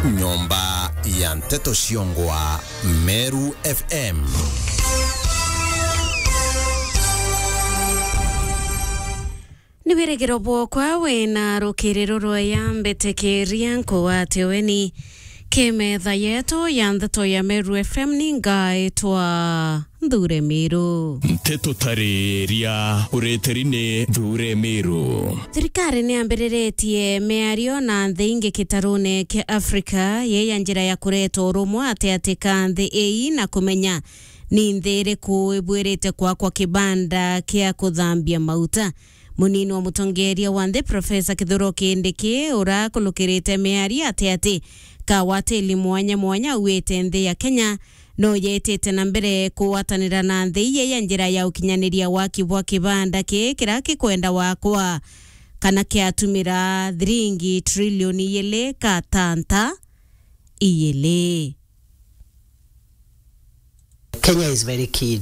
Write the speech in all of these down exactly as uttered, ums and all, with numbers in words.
Nyomba ya nteto ciongwa Meru F M. Ni wirigiro bwokwa wina rukiriro rwaya, mbitikiria nkugwate ugeni ki metha yetu ya nteto ya Meru F M. Ni ngaitwa Nthure Miru. Nteto tariria ureteri ni Nthure Miru. Thirikari ni yambiriritie miario na nthi ingi gitarune kia Afrika, ye ya njira ya kureta urumwe ati ati ka nthi ii na kumenya ni nthi iriku ibwirite kwakwa kibanda kia kuthambia mauta. Munini wa mutongeria wa nthi, Profesa Kithure Kindiki, urakulukirite miario ati ati kawatili mwanya mwanya auite nthi ya Kenya no yetite na mbere kugwatanira na nthi iye ya njira ya ukinyaniria waki bwa kibanda ki kira kikwenda wakwa kana kiatumira thiringi trilioni ijiri katanta ijiri. Kenya is very keen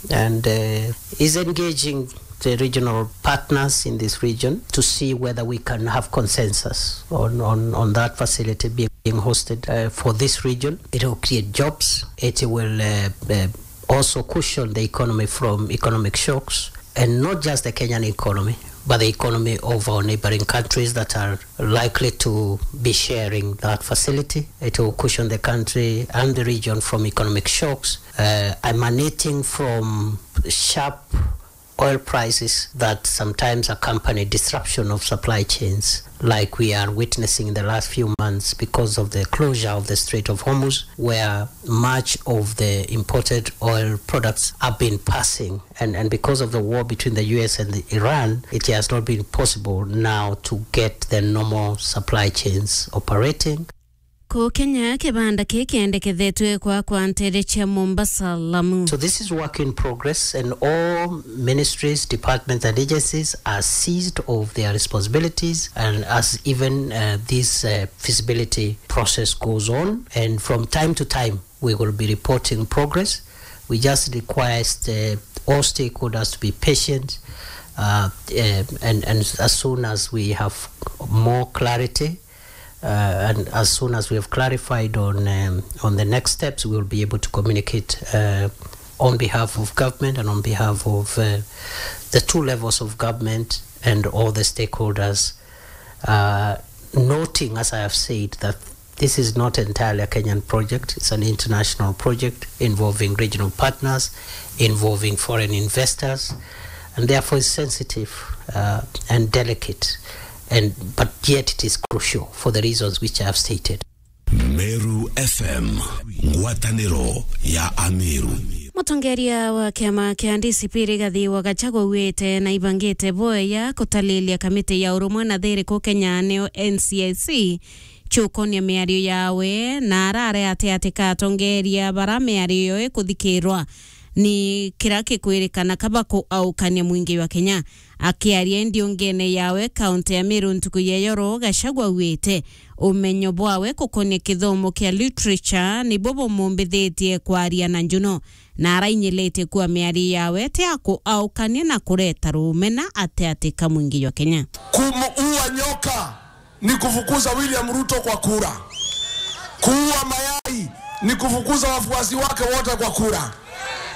and, uh, is engaging the regional partners in this region to see whether we can have consensus on, on, on that facility being, being hosted, uh, for this region. It will create jobs. It will, uh, uh, also cushion the economy from economic shocks, and not just the Kenyan economy, but the economy of our neighboring countries that are likely to be sharing that facility. It will cushion the country and the region from economic shocks, uh, emanating from sharp oil prices that sometimes accompany disruption of supply chains, like we are witnessing in the last few months because of the closure of the Strait of Hormuz, where much of the imported oil products have been passing. And, and because of the war between the U S and the Iran, it has not been possible now to get the normal supply chains operating. Ku Kenya, kibanda kii kiendekethetwe kwakwa nteere cia Mombasa, Lamu. So this is work in progress, and all ministries, departments and agencies are seized of their responsibilities, and as even, uh, this, uh, feasibility process goes on, and from time to time we will be reporting progress. We just request, uh, all stakeholders to be patient, uh, uh, and, and as soon as we have more clarity, uh, and as soon as we have clarified on, um, on the next steps, we will be able to communicate, uh, on behalf of government and on behalf of, uh, the two levels of government and all the stakeholders, uh, noting, as I have said, that this is not entirely a Kenyan project. It's an international project involving regional partners, involving foreign investors, and therefore is sensitive, uh, and delicate, and, but yet it is crucial for the reasons which I have stated. Meru F M, ngwataniro ya Ameru. Mutongeria wa kiama kia D C P Rigathi wa Gachagua auite na ibangite bwega kutalilia kamiti ya urumwe na thiri ku Kenya, niyo N C I C, ciukonia miario yawe, na arare ati ati ka atongeria bara miario yo ikuthikirwa ni kira kikwirikana kaba kuaukania mwingi jwa Kenya. Akiaria ndiungene yawe kaunti ya Meru ntuku ya yoro, Gachagua auite umenyo bwawe kukonia kithomo kia literature nibo bumumbithitie kwaria na njuno, na arainyilitie kuwa miario yawe ti ya kuaukania na kureta rumena ati ati ka mwingi jwa Kenya. Kumuua nyoka ni kufukuza William Ruto kwa kura. Kuua mayai ni kufukuza wafuasi wake wote kwa kura.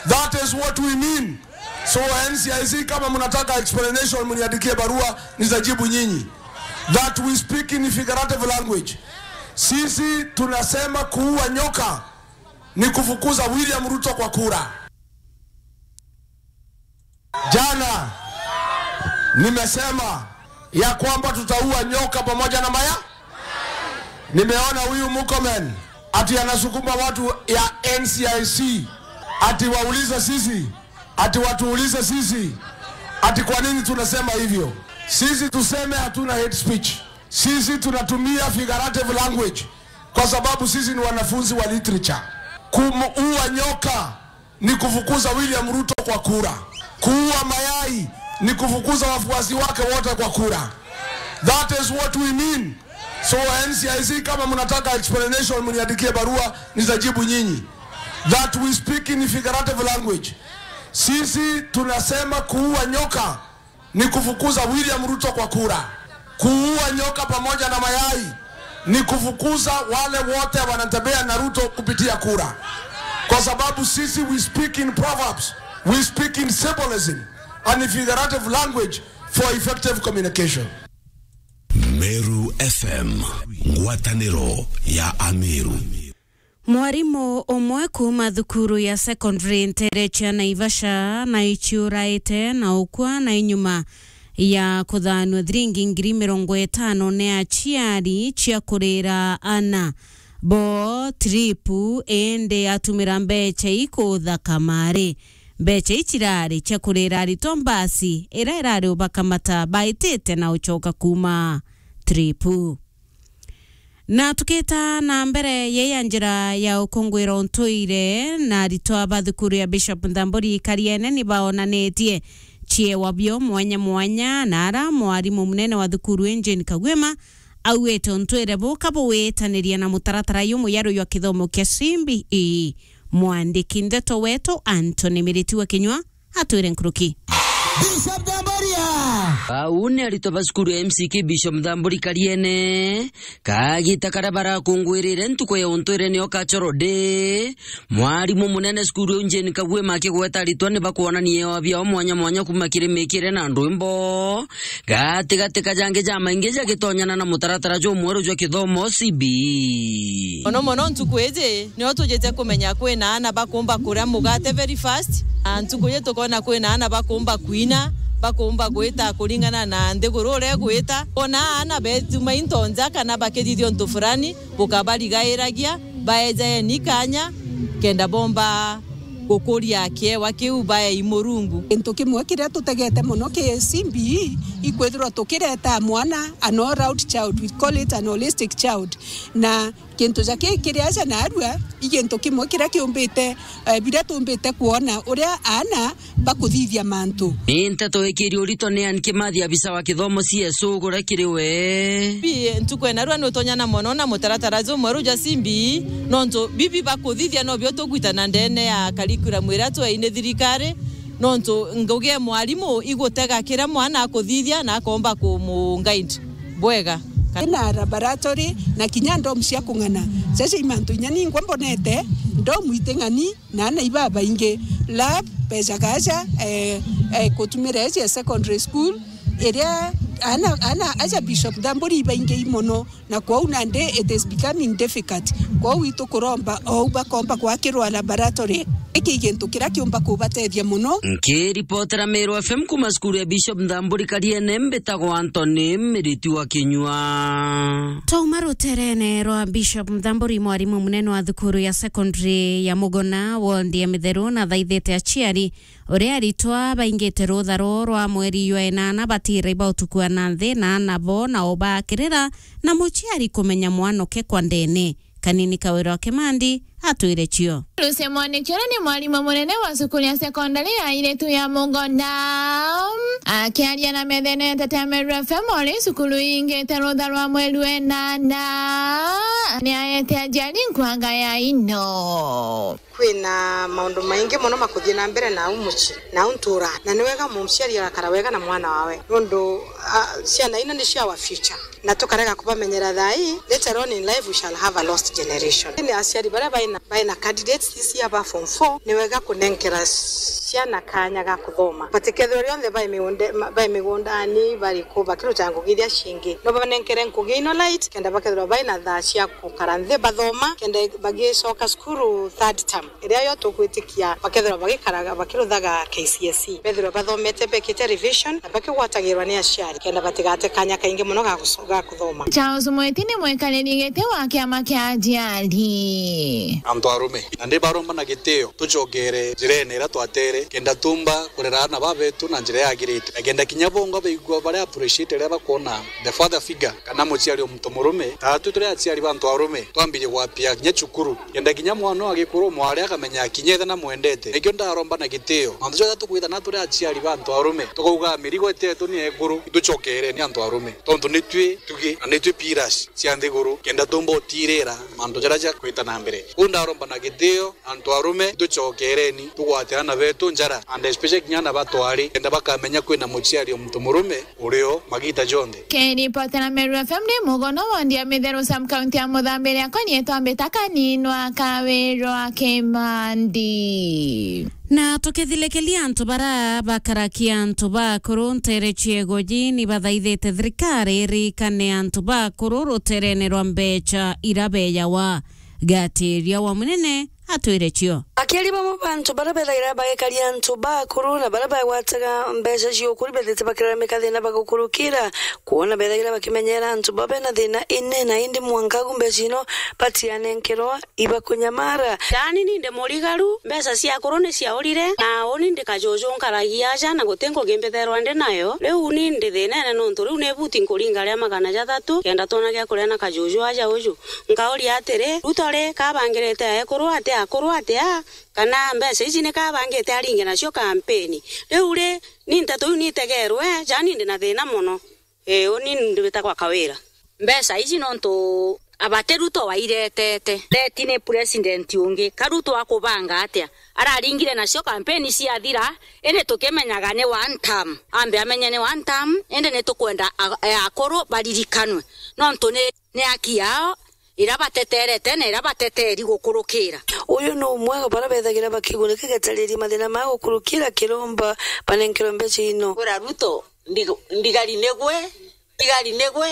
That is what we mean. So N C I C, kama mnataka explanation, mniandikie barua, nitajibu nyinyi. That we speak in figurative language. Sisi tunasema kuua nyoka ni kufukuza William Ruto kwa kura. Jana nimesema ya kwamba tutaua nyoka pamoja na maya. Nimeona huyu Murkomen ati anasukuma watu ya N C I C ati waulize sisi, ati watuulize sisi, ati kwa nini tunasema hivyo. Sisi tuseme hatuna hate speech. Sisi tunatumia figurative language kwa sababu sisi ni wanafunzi wa literature. Kumuua nyoka ni kufukuza William Ruto kwa kura. Kuua mayai ni kufukuza wafuasi wake wote kwa kura. That is what we mean. So N C I C, kama mnataka explanation, mniandikie barua, nitajibu nyinyi. That we speak in figurative language. Sisi tunasema kuua nyoka ni kufukuza William Ruto kwa kura. Kuua nyoka pamoja na mayai ni kufukuza wale wote wanatembea na Ruto kupitia kura, kwa sababu sisi, we speak in proverbs, we speak in symbolism and figurative language for effective communication. Meru F M, ngwataniro ya Ameru. Mwarimu umwe kuuma thukuru ya secondary nteere cia Naivasha naiciuraite na ukua na inyuma ya kuthanua thiringi ngiri mirongo itano ni aciari cia kurira ana bo trip, indi atumira mbecha ii kuutha kamari. Mbecha ii cirari cia kurira aritwa mbasi iria irari ubakamata baitite na ucoka kuuma trip. Na tukita na mbere, yei ya njira ya ukungwira untuire, na aritwa ba thukuru ya Bishop Nthamburi Kariene ni baonanitie ciewa bio mwanya mwanya, na ara mwarimu munene wa thukuru ii Jane Kagwima auite untuire buka buwitaniria na mutaratara jumuyaru jwa kithomo kia C B E. Mwandiki ndeto wetu Anthony Miriti wa Kinyua atwire nkuruki. Bishop Damboria. Au ni aritwa ba cukuru ya M C K Bishop Nthamburi Kariene. Kagita karia barakungwirire ntuku ya untuire nio Cultural Day, mwarimu munene cukuru iu Jane Kagwima akigweta aritwa ni bakwonania ewa biao mwanya mwanya kuuma kiri mikire na ndwimbo, gatigati ka jangi jamaingi jagitonyana na mutaratara jumweru jwa kithomo C B E. Mono mono ntuku iji, nio tujite kumenya kwina aana bakumba kuria mugate very fast, na ntuku iji tukona kwina aana bakumba kwina, bakumba gwita kuringana na nthiguru uria igwita. Ona aana betuma into nja kana bakithithia untu fulani, bukabarigairagia, baejaeni kanya, kenda bomba gukuria kiewa kiu baei Murungu. Gintu kimwe kiria tutegete mono ki C B E, ikwithirwa tukireta mwana an all-round child, we call it an holistic child, na gintu ja ki kiri aja narua, i gintu kimwe kiria kiumbite, eh, biria tumbite kwona uria aana bakuthithia mantu. Ni nteto ikiri urito ni Ann Kimathi, abisa wa kithomo C S O, guria kiri we. Bi, ntuku ya narua ni utonyana mono na mutaratara jumweru ja C B E, nontu bibi bakuthithia nobio tugwitana ndene ya curriculum iria tweini thirikari, nontu ngugi ya mwarimu igutega kiria mwana akuthithia na akomba kumu guide bwega. Ina laboratory na kinya ndom cia kung'ana. Jaja i mantu inya ningwa mbonete ndom iti ng'ani na aana ibabaingi. Lab, bejaga aja, eh, eh, kutumira eji ya secondary school, iria aana, aana aja Bishop Nthamburi ibaingi i mono, na kwou nandi it is becoming difficult. Kwou itukuromba ou bakomba gwakirwa laboratory. Iki i gintu kiria kiumba kubatethia mono. Nkiripotera Meru F M kuuma cukuru ya Bishop Nthamburi Kariene, mbitagwa Anthony Miriti wa Kinyua. Twauma ruterene rwa Bishop Nthamburi, mwarimu munene wa thukuru ya secondary ya Mugona, ward ya Mitheru, na thaithite aciari uria aritwa baingite rutha ruu rwa mweri jwa inana batire ba utukua na nthi na aana bo na ubakirira na muciari kumenya mwanoke kwa ndene. Kanini Kawira wa Kimandi atwire cio. Lucy Mwaniki uria ni mwarimu munene wa cukuru ya sekondari ya airitu ya Mugona, akiaria na methene ya Nteto ya Meru F M uri cukuru ingite rutha rwa mweri wa inana, ni aete aciari nkwanga ya ino. Kwina maundu maingi mono makuthii na mbere nau mucii, nau ntura, na ni wega muciari agakara wega na mwana wawe, nondu, ah, ciana ino nicio our future, na tukarega kubamenyera thaa ii, later on in life we shall have a lost generation. Ni aciari baria baina, baina candidates this year ba form four, ni wega kunenkera ciana kanya ga kuthoma. Batikethirwe rionthe bai migunde-, ma-, bai migundani, bari ku, bakiruta ngugi iria cingi. No banenkere ngugi ino light, kenda bakethirwa baina thaa cia gukara nthi bathoma, kenda bagicoka cukuru third term, iria yo tugwitikia bakethirwa bagikaraga, bakiruthaga K C S E. Bethirwa bathomete, bekite revision, na bakigwatagirwa ni aciari, kenda batigate kanya kaingi mono ga guco-, ga kuthoma. Charles Mwiti ni mwikariri giti wa kiama kia aciari. Antu arume, na ndi baromba na gitio, tucokere njirene iria twatere, kenda tumba kurera aana ba betu na njira yagirite, na kenda kinya bongwa baigua bari appreciate riria bakwona the father figure kana muciari o muntu murume. Taatwi turi aciari ba antu arume, twambirie gwapia kinya cukuru, kenda kinya mwana wa gikuru mwari akamenya kinya ithe namwendete. Nikio ndaromba na gitio, mantu jonthe tukwithana turi aciari ba antu arume, tukauga mirigo iti yetu ni ekuru, itucokereni antu arume, tontu nitwi tugi na nitwi pillars cia nthiguru, kenda tumba utirira mantu jaria jakwita na mbere. Kuu ndaromba na gitio, antu arume, tucokereni, tugwate aana betu njara, and especially kinya na batwari, kenda bakamenya kwina muciari o muntu murume urio magita jonthe. Kiripotera Meru F M ni Mugono wondi ya Mitheru sub county ya Muthambiria, akwa nietwa Mbita Kaninwa Kawirwa Kimandi. Na tukithilikeria antu bara bakarakia antu bakuru ntere ciego ji ni bathaithite thirikari irikane antu bakuru ruterene rwa mbecha ira beyawa. Gatiria wa munene atwire cio. Akiaria bamwe ba antu bara bethagira bagikaria antu bakuru na bara bagwataga mbecha cia ukuri bethite bakiraramika thina bagukurukira, kwona bethagira bakimenyera antu ba bena thina inene, indi mwanka agu mbecha ino batianenkerwa ibakunyamara. Jaani ni ndi murigaru, mbecha cia akuru ni ciaurire, na uni ndi kajuju nkaragia aja na guti ngugi mbitherwa ndi nayo. Riu ni ndi thinene nontu riu ni buti nkuringa ria magana jathatu kenda twona gia kuria na kajuju aja uju. Nkauria atiri, Ruto ri kabangirite aekuru atia, akuru atia, kana mbeca iji ni kabangite aringe nacio kampeni? Riu ri, ni nteto iu ni itegerwe, jaani ndi na thina mono. Ii, uni ndi witagwa Kawira. Mbeca iji nontu abati Ruto wairetete. Leti ni president ungi, ka Ruto akubanga atia? Araringire nacio kampeni ciathira, indi tukimenyaga ni one term. Ambe amenye ni one term, indi ni tukwenda a-, e akuru baririkanwe. Nontu ni ni aki yao ira bateterete na ira bateteri gukurukira. Uyu ni umwe wa bara bethagira bakigunika getariria mathina ma gukurukira kiromba banenkerwe mbeca ino. Kwira Ruto, ndi-, ndigari nigwe, ndigari nigwe,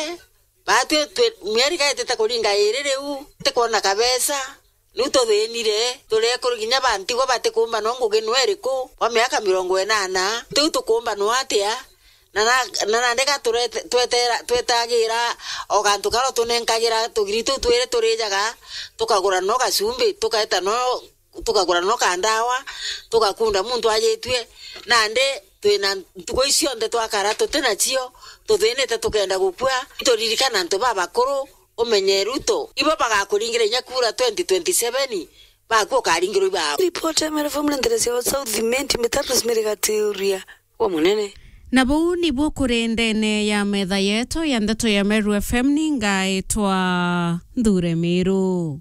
batwi twi-, mieri gaitite kuringa iri riu, tikwona kabeca, riu tuthinire, turekuru kinya bantigwa batikumba no ngugi nwe iriku, wa miaka mirongo inana, tiu tukumba no atia? Na na, na nandi ga turete-, twetera-, twetagira o gantu karia utunenkagira tugiri tuu twiri turijaga, tukagura no gacumbi, tukaeta no, tukagura no kandawa, tugakunda muntu ajitue. Nandi twina ntuku ici cionthe twakara tuti nacio, tuthinite tukenda gukua. Turirikana antu babakuru, umenye Ruto, ibo bagakuringira inya kura twenty twenty-seven, baku ukaringirwa ibao. Ripoti ya Meru F M ni ntere cia South Imenti, Mbita Rosemary Gatiuria. Wa munene. Na buu nibuo kuri ndene ya metha yetu ya ndeto ya Meru F M, ni ngaitwa Nthure Miru.